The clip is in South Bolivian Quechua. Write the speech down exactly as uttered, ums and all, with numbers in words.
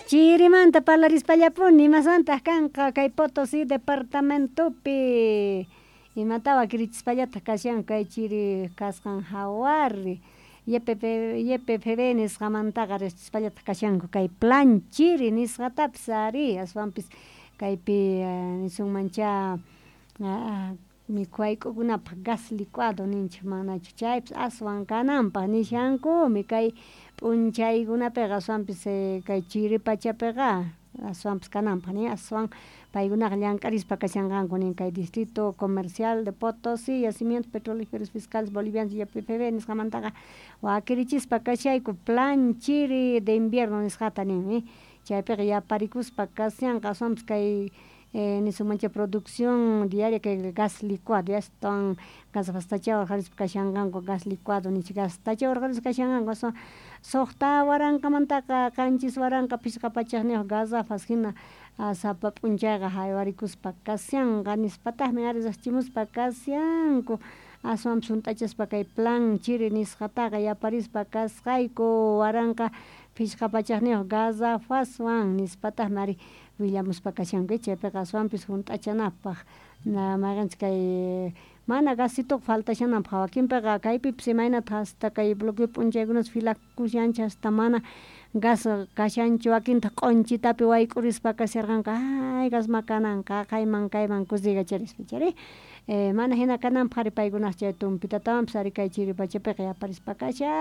Chirimanta parlarispallapuni imasmantaq kanqa kay Potosí departamentopi imata wakirichispallataq kashanku kay chiri kasqan hawari Y P Y P F B nisqamantaqa riqsichispallataq kashanku kay plan chiri nisqatapis ari aswanpis kaypi nisunmancha mikhuwayk'ukunapaq gas licuado ninchik manachu chaypis aswan kananpaq nishankumi kay p'unchaykunapiqa aswanpis kay chiri pachapiqa aswanpis kananpaq nin aswan paykunaqa llank'arispa kashanqanku nin kay Distrito Comercial de Potosí Yacimientos Petrolíferos Fiscales Bolivianos Y P F B nisqamantaqa wakirichispa kashayku plan chiri de invierno nisqata nin chaypiqa yaparikuspa kashanqa aswanpis kay nisunmancha producción diaria kay gas licuado astawan garrafastacha urqharispa kashanqanku gas licuado nichik gastacha urqharispa kashanqanku aswan suqta waranqamantaqa qanchis waranqa phishqa pachakniyuq garrafas hina sapa p'unchayqa haywarikuspa kashanqa nispataqmi ari riqchimuspa kashanku aswanpis hunt'achaspa kay plan chiri nisqataqa yaparispa kasqayku waranqa phishqa pachakniyuq garrafaswan nispataqmi ari willamuspa kashanku chaypiqa aswanpis hunt'achanapaq mayqinchus kay mana gasituqa faltashananpaq wakinpiqa kaypipis imaynataq hasta kay bloqueo p'unchaykunas filakushanchik hasta mana gas kashanchu wakintaq q'unchitapi wayk'urispa kasharqanku ay gasma kananqa haqayman kayman kusiykacharispa chayri mana hina kananpaq ari paykunaqa chay tumpitatawanpis ari kay chiri pachapiqa yaparispa kashan.